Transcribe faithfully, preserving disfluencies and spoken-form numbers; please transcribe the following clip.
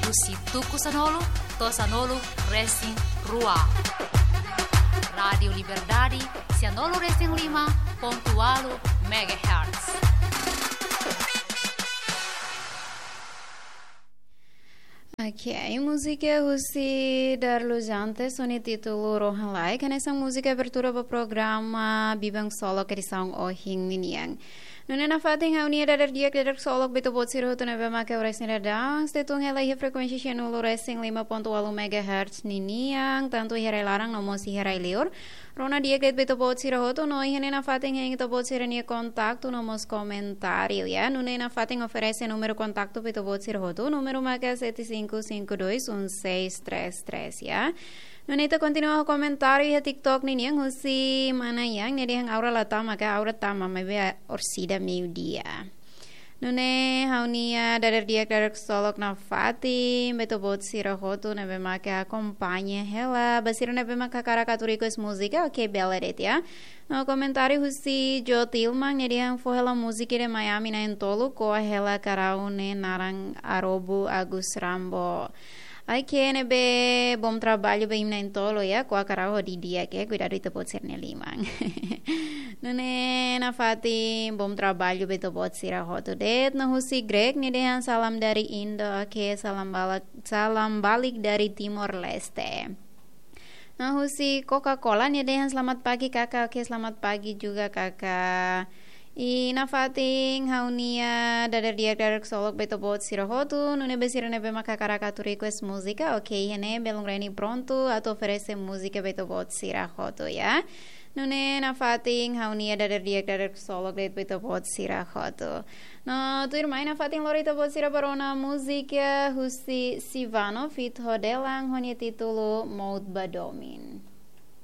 Husi tuku sanulu to'o sanulu resin rua. Rádiu Liberdade, sanulu resin lima pontu ualu megahertz. Ok, múzika husi Darlujante, ho nia títulu Rohan Laek, hanesan múzika abertura ba programa Biban Ksolok edisaun ohin ninian. Nune'e nafatin ha'u-nia dadeer-di'ak, dadeer ksolok ba ita-boot sira hotu ne'ebé mak oras ne'e daudaun sei tun hela iha frekuénsia sanulu resin lima pontu ualu megahertz ninian, tantu iha rai-laran no mós iha rai-liur. Rona di'ak de'it ba ita-boot sira hotu, no iha ne'e nafatin hein ita-boot sira-nia kontaktu no mós komentáriu, ya. Nune'e nafatin oferese númeru kontaktu ba ita-boot sira hotu, númeru maka sete cinco cinco dois um seis três três, ya. Nune'e ita kontinua ho komentáriu iha TikTok ninian, husi mana yang ne'e dehan Aura la tama ka, Aura tama maibé orsida meiudia. Nune'e ha'u-nia dadeer-di'ak, dadeer ksolok nafatin ba ita-boot sira hotu ne'ebé mak akompaña hela. Ba sira ne'ebé mak hakarak atu request múzika, ok, bele de'it, ya. No komentáriu husi Jo Tilman ne'e dehan fó hela múzika ida Miami na'in-tolu, ko'a hela karau ne'e naran Arobu Agus Rambo. Ok, ne'ebé bom traballu ba imi na'in-tolu, ya, ko'a karau ho di'ak, ya, kuidadu ita-boot sira-nia liman. Nune'e nafatin bom traballu ba ita-boot sira hotu de'it. No husi Greg ne'e dehan salam dari Indo, ok, salam balik, salam balik dari Timor Leste. No husi Coca-Cola ne'e dehan selamat pagi kakak, ok, selamat pagi juga kakak. I nafatin ha'u-nia dadeer-di'ak, dadeer ksolok ba ita-boot sira hotu, nune'e ba sira ne'ebé mak hakarak atu request múzika, ok, iha ne'e Belun Reni prontu atu oferese múzika ba ita-boot sira hotu, ya. Nune'e nafatin ha'u-nia dadeer-di'ak, dadeer ksolok de'it ba ita-boot sira hotu. No tuirmai nafatin lori ita-boot sira ba rona múzika husi Sivano feat Hodelan ho nia títulu Mout ba Domin.